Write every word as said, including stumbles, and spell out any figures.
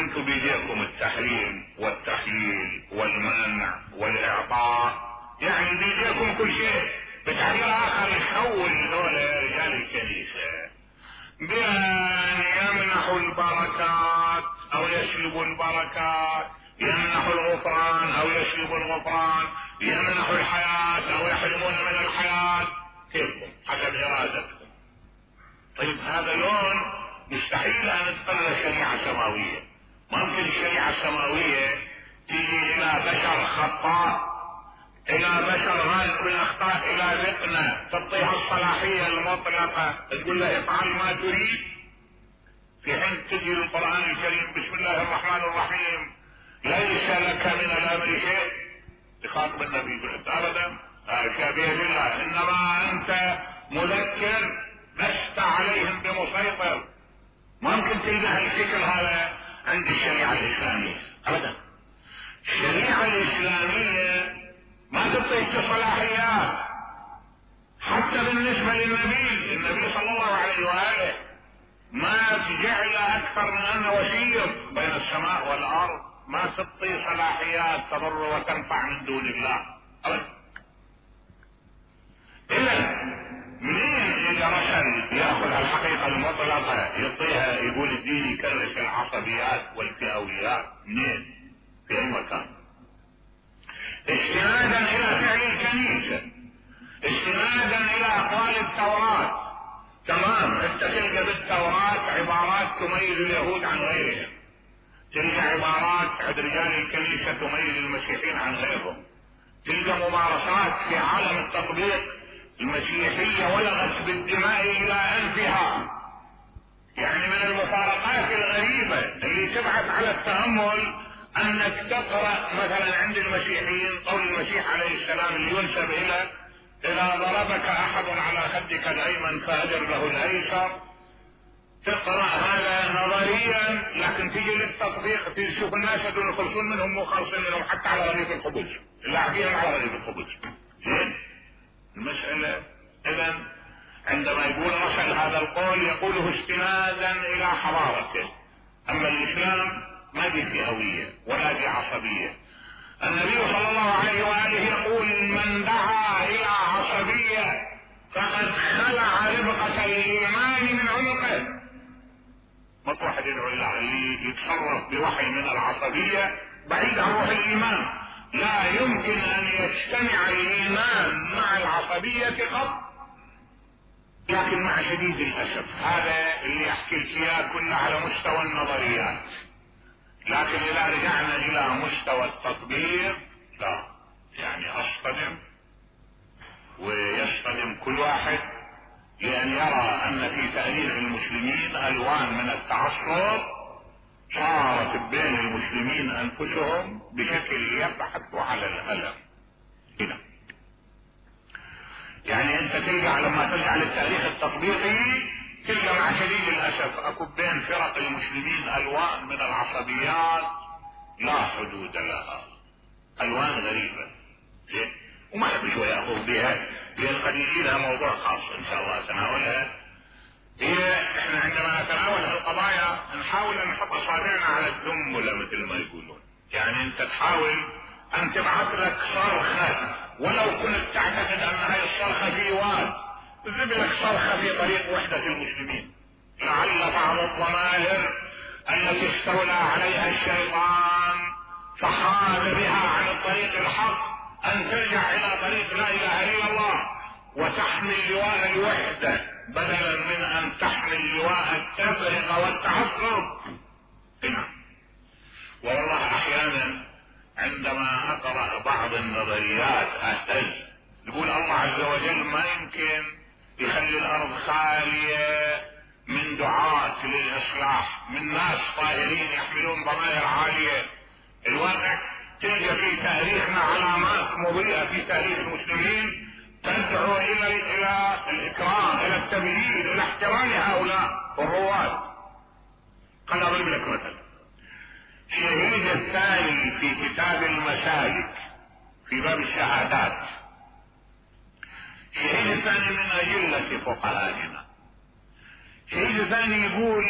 انتم بيديكم التحريم والتحليل والمنع والاعطاء، يعني بيديكم كل شيء. بتعبير اخر يحول دول رجال الكنيسة بان يمنحوا البركات او يسلبوا البركات، يمنحوا الغفران او يسلبوا الغفران، يمنحوا الحياة او يحرمون من الحياة، كيفكم حسب ارادتكم. طيب هذا لون مستحيل ان تقرر شريعة سماوية. ممكن الشريعة السماوية تيجي الى بشر خطاء، الى بشر غالب بالاخطاء، الى ذقنا تعطيها الصلاحية المطلقة تقول له افعل ما تريد، في حين تجي القرآن الكريم بسم الله الرحمن الرحيم ليس لك من الامر شيء، يخاطب النبي يقول ابدا هذا بيد الله، انما انت مذكر لست عليهم بمسيطر. ممكن تلقى الفكر هذا عند الشريعة الاسلامية ابدا. الشريعة الاسلامية ما تعطيك صلاحيات حتى بالنسبة للنبي. النبي صلى الله عليه وآله ما جعل اكثر من انه وسيط بين السماء والارض، ما تعطي صلاحيات تضر وتنفع من دون الله ابدا. اذا مين اذا رسل ياخذ الحقيقة المطلقة يعطيها يقول الدين يكرس العصبيات والفئويات؟ منين؟ في اي مكان؟ استنادا الى فعل الكنيسة، استنادا الى اقوال التوراة. تمام، انت تلقى بالتوراة عبارات تميز اليهود عن غيرهم، تلقى عبارات عند رجال الكنيسة تميز المسيحيين عن غيرهم، تلقى ممارسات في عالم التطبيق المسيحية ولغت بالدماء الى انفها. يعني من المفارقات الغريبة اللي تبعث على التأمل انك تقرأ مثلا عند المسيحيين قول المسيح عليه السلام اللي ينسب الى اذا ضربك احد على خدك الايمن فاجر له الايسر. تقرأ هذا نظريا، لكن تيجي للتطبيق تشوف الناس هذول يخلصون منهم مو خالصين منهم حتى على رغيف الخبز، اللاعبين على رغيف الخبز. زين المسألة اذا عندما يقول رسل هذا القول يقوله استنادا الى حضارته. اما الاسلام ما دي فئوية ولا دي عصبية. النبي صلى الله عليه وآله يقول من دعا الى عصبية فقد خلع ربقة الايمان من عنقه. مطرح يدعو الله اللي يتصرف بوحي من العصبية بعيد عن روح الايمان. لا يمكن ان يجتمع الايمان مع العصبية قط. لكن مع شديد الاسف هذا اللي احكي لك اياه كله على مستوى النظريات، لكن اذا رجعنا الى مستوى التطبيق لا، يعني اصطدم ويصطدم كل واحد لان يرى ان في تاريخ المسلمين الوان من التعصب صارت بين المسلمين انفسهم بشكل يبحث على الالم. هنا يعني انت تلقى لما ترجع للتاريخ التطبيقي تلقى مع شديد الاسف اكو بين فرق المسلمين الوان من العصبيات لا حدود لها، الوان غريبة. زين وما حد شوي ياخذ بها، لان قد يجي لها موضوع خاص ان شاء الله تناولها. هي احنا عندما نتناول هالقضايا نحاول ان نحط اصابعنا على الدمبله مثل ما يقولون. يعني انت تحاول ان تبعث لك صرخة ولو كنت تعتقد ان هاي الصرخة في واد، تجيب لك صرخة في طريق وحدة المسلمين. لعل بعض الضمائر التي استولى عليها الشيطان فحاد بها عن الطريق الحق ان ترجع الى طريق لا اله الا الله وتحمل لواء الوحدة بدلا من ان تحمل لواء التفرقة والتعصب. والله احيانا عندما اقرأ بعض النظريات اهتز، يقول الله عز وجل ما يمكن يخلي الارض خالية من دعاة للاصلاح، من ناس طاهرين يحملون ضمائر عالية. الواقع تلقى في تاريخنا علامات مضيئة في تاريخ المسلمين تدعو الى الى الاكرام، الى التبجيل، الى احترام هؤلاء الرواد. قد اضرب لك مثلا الشهيد الثاني في كتاب المسالك في باب الشهادات، الشهيد الثاني من اجلة فقهائنا. الشهيد الثاني يقول